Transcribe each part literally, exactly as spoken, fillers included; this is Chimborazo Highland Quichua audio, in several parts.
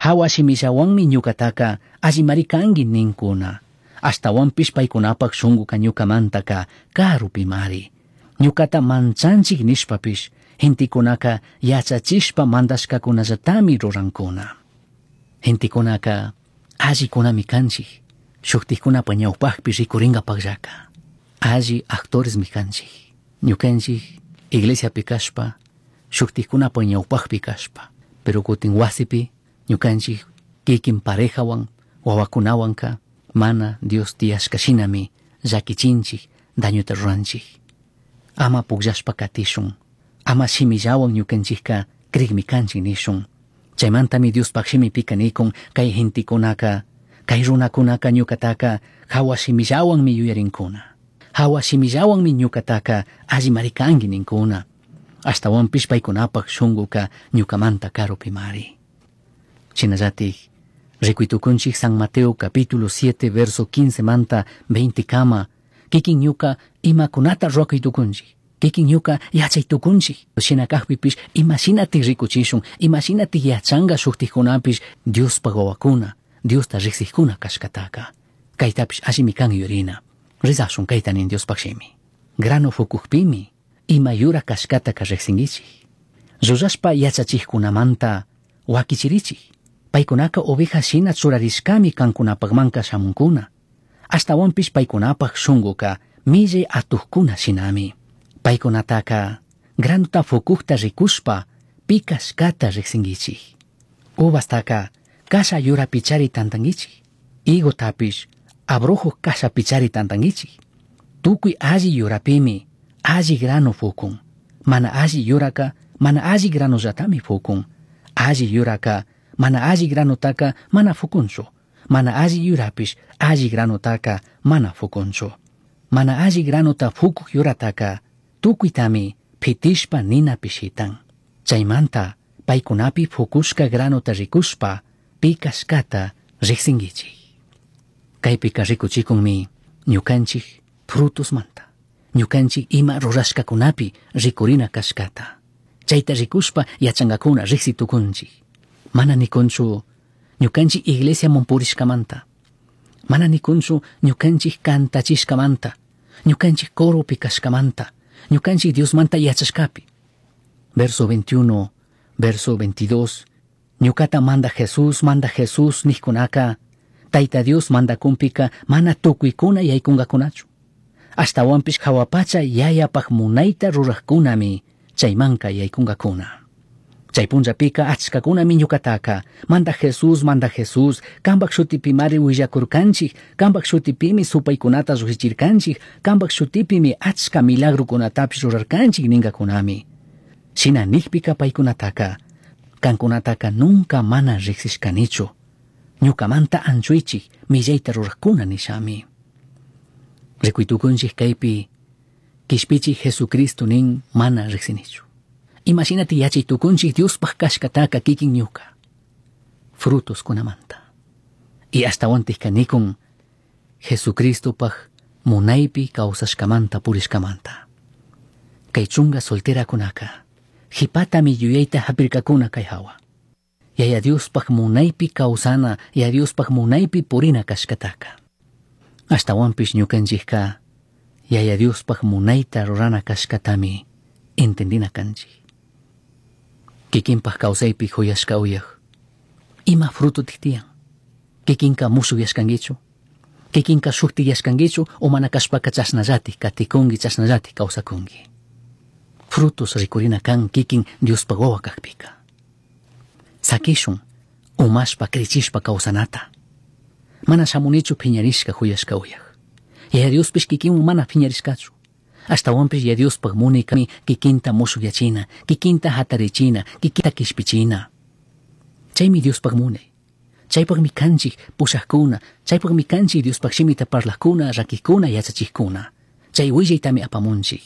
Jahua shimillahuanmi ñucataca allimari cangui nincuna. Ashtahuanpish paicunapaj shunguca ñucamantaca carupimari. Ñucata manchanchij nishpapish gentecunaca yachachishpa mandashcacunallatami rurancuna. Gentecunaca allicunami canchij, shujtajcunapa ñaupajpi ricuringapajllaca. Alli actoresmi canchij. Ñucanchij iglesiapi cashpa, shujtajcunapa ñaupajpi cashpa, pero cutin huasipi ñucanchij kikin parejahuan, wawacunahuanca mana Dios tiyashca shinami llaquichinchij, dañota ruranchij. Ama pugllashpa katishun, ama shimillahuan ñucanchijca crigmi canchij nishun. Chaymantami Diospaj shimipika nikun kay gentecunaca, kay runacunaca ñucataca jahua shimillahuanmi yuyarincuna. Jahua shimillahuanmi ñucataca allimari cangui nincuna. Ashtahuanpish paicunapaj shunguca ñucamanta carupimari. Shinallatik, rikuitukunchik San Mateo capítulo siete verso quince manta veinte kama, kikin ñuka imakunata ruwakuytukunchik, kikin ñuka yachaytukunchik. Shina kajpipish imashinatik rikuchishun, imashinatik yachanga shuktikkunapish Diospaj wawakuna, Diosta riqsiqkuna kashkataka. Kaytapish allimi kan yurina. Rezashun kayta nin Diospaj shimi. Grano fukukpimi ima yura kashkataka riqsinkichik. Llullashpa yachachikkunamanta wakichirichik. Paykunaka oveja shina churarishkami kankunapajmanka shamunkuna. Ashtahuanpish paykunapaj shunguka millay atukkuna shinami. Paykunataka granota fukukta rikushpa pi kashkata riqsinkichik. Uvastaka kasha yurapichari tantankichik. Higotapish abrojo kashapichari tantankichik. Tukuy alli yurapimi alli grano fukun. Mana alli yuraka mana alli granollatami fukun. Alli yuraka mana alli granotaka mana fukunchu. Mana alli yurapish alli granotaka mana fukunchu. Mana alli granota fukuk yurataka tukuytami pitishpa ninapi shitan. Chaymanta paykunapi fukushka granota rikushpa pi kashkata riqsinkichik. Kaypika rikuchikunmi ñukanchik frutosmanta, ñukanchik ima rurashkakunapi rikurina kashkata. Chayta rikushpa yachankakuna riqsitukunchik. Mana nikunchu ñukanchik iglesiaman purishkamanta. Mana nikunchu ñukanchik kantachishkamanta, ñukanchik coropi kashkamanta, ñukanchik Diosmanta yachashkapi. Verso veintiuno, verso veintidós, ñukata manda Jesús, manda Jesús nijkunaka, Tayta Dios mandakunpika mana tukuykuna yaykungakunachu. Ashtahuanpish jahua pacha yayapaj munayta rurajkunami chaymanka yaykungakuna. Chay punllapika achkakunami ñukataka, manda Jesús, manda Jesús, kambaj shutipimari willakurkanchik, kambaj shutipimi supaykunata llujichirkanchik, kambaj shutipimi achka milagrukunatapish rurarkanchik ningakunami. Shina nijpika paykunataka, kankunataka nunca mana riqsishkanichu. Ñukamanta anchuichik, millayta rurajkuna nishami. Rikuytukunchik kaypi, kishpichik Jesucristo nin mana riqsinichu. Imashinati yachaytukunchik Diospaj kashkataka kikin ñuka. Frutos kunamanta. Y ashtawantik kanikun Jesucristopaj munaypi kawsashkamanta purishkamanta. Kay chunga solterakunaka, jipatami yuyayta hapirkakuna kay hawa. Yaya Diospaj munaypi kawsana, Yaya Diospaj munaypi purina kashkataka. Ashtawanpish ñukanchikka Yaya Diospaj munayta rurana kashkatami entendina kanchik. Kikinpaj kawsaypi huyashka uyaj. Ima fruto tiyan? Kikinka mushuyashkankichu? Kikinka shuktiyashkankichu o mana kashpaka chashnallatik katikunki, chashnallatik kawsakunki? Frutos rikurina kan kikin Diospaj wawa kakpika. Sakishun umashpa krichishpa kawsanata. Mana shamunichu phiñarishka huyashka uyaj. Yaya Diospish kikinwan mana phiñarishkachu. Ashtawanpish Yaya Diospaj munaykami kikinta mushuyachina, kikinta hatarichina, kikinta kishpichina. Chaymi Diospaj munay. Chaypaqmi kanchik pushaqkuna, chaypaqmi kanchik Diospaj shimita parlaqkuna, rakikuna, yachachiqkuna. Chay willaytami apamunchik.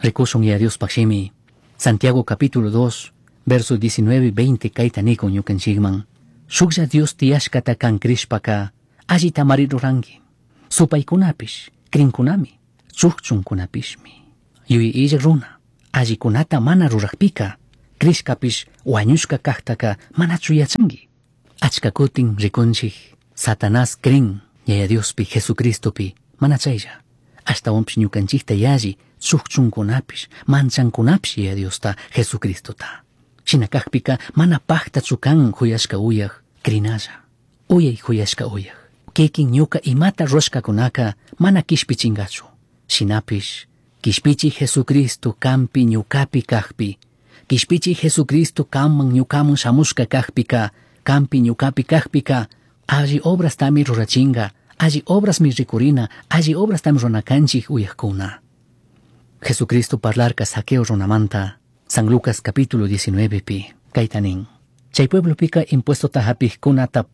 Rikushun Yaya Diospaj shimi, Santiago capítulo dos, verso diecinueve y veinte kayta nikun ñukanchikman. Shuklla Dios tiyashkata kan krishpaka, allita mari ruranki. Supaykunapish, krinkunami, chukchunkunapishmi. Yuyay illak runa, allikunata mana rurajpika, Crishcapish huañushca cajtaca manachu yachanqui. Achca cutin rikunchik Satanás crin Yaya Diospi Jesucristopi mana chaylla. Ashtawanpish ñukanchikta yalli chukchunkunapish manchankunapish Yaya Diosta Jesucristota. Shina kakpika mana pajtachu kan huyashka uyaj crinalla. Uyay huyashka uyaj. Kikin ñuka imata rurashkakunaka mana kishpichingachu. Shinapish kishpichi Jesucristo kampi ñukapi kakpi. Kishpichi Jesucristo kanman ñukaman shamushka kakpika, kampi ñukapi kakpika, alli obrastami rurachinga, alli obrasmi rikurina, alli obrastami ruranakanchik uyajkuna. Jesucristo parlarka Zaqueo runamanta, San Lucas capítulo diecinueve pi, kayta nin. Chay pueblopika impuestota hapijkunata